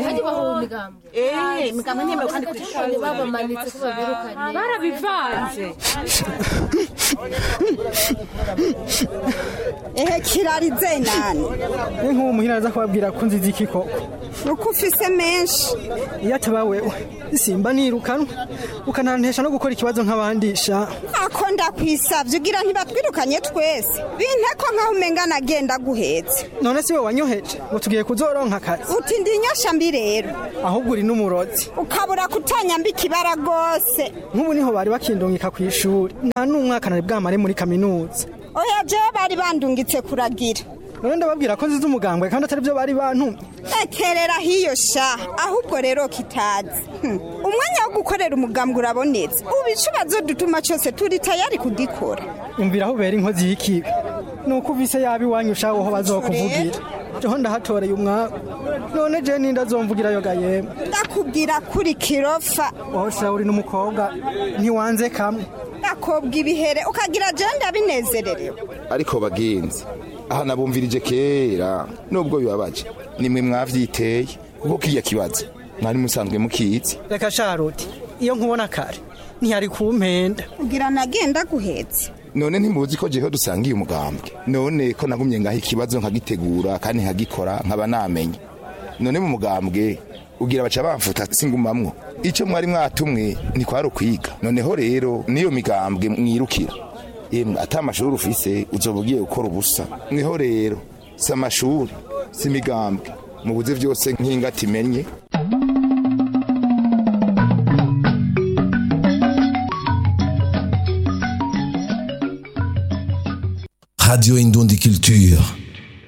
Hajya bahuwe imigambwe. Imigambwe ntiyemewe kandi kw'ishuri. Babamanitse ko babirukanye. Barabivanze. Ehe, kirarize nani? Ni nk'uwo muhira aza kubabwira ko nziza iki koko? Uko ufise menshi. Iyo ataba wewe simba nirukanwe, ukanantesha no gukora ikibazo nk'abandisha. Ako ndakwisavye, ugira ntibatwirukanye twese? Binteko nkaho umenga nagenda guhetse. None si we wanyoheje ngo tugiye kuzoronka akazi? Uti ndi inyosha mbi rero? Ahubwo uri n'umurozi. Ukabura kutanyamba ikibara rwose. Nk'ubu niho bari bakindungika kw'ishuri, nta n'umwaka nari bwamare muri kaminuza. Oya, jewe bari bandungitse kuragira. None ndababwira ko nziza umugambwe kandi atari byo bari bantumye? Ekerera hiyo sha, ahubwo rero kitazi. Umwanya wo gukorera umugambwe urabonetse, ubu ico bazodutuma cose turi tayari kugikora. Umvira aho ubera inkozi y'ikibi, nuko uvise yaba iwanyu ushaho ho bazokuvugira. Jeho ndahatoreye umwaku, none je ninde azomvugirayo ga yemwe? Ndakubwira kuri kirofa. Wowe sha uri n'umukobwa, ntiwanze kamwe. Ndakobwa ibihere ukagira je ndabinezererewe. Ariko bagenzi, aha nabumvirije kera, nubwo bibabaje nimwe mwavyiteye, kuko kiya kibazo mwari musanzwe mukizi. Reka sharuti, iyo nkubona kare ntiyari kumpenda. Ugira nagenda guhetse. None ntimuzi ko jeho dusangiye umugambwe? None ko nagumye ngaha ikibazo nkagitegura kandi nkagikora nkaba namenye, none mu mugambwe ugira baca bamfuta singumamwo? Ico mwari mwatumwe ntikwari ukwiga? Noneho rero niyo migambwe mwirukira, yemwe, ata amashuri ufise uzoba ugiye gukora ubusa. Niho rero si amashuri, si imigambwe, mubuze vyose nk'ingata imenye. Radio Indundi Culture.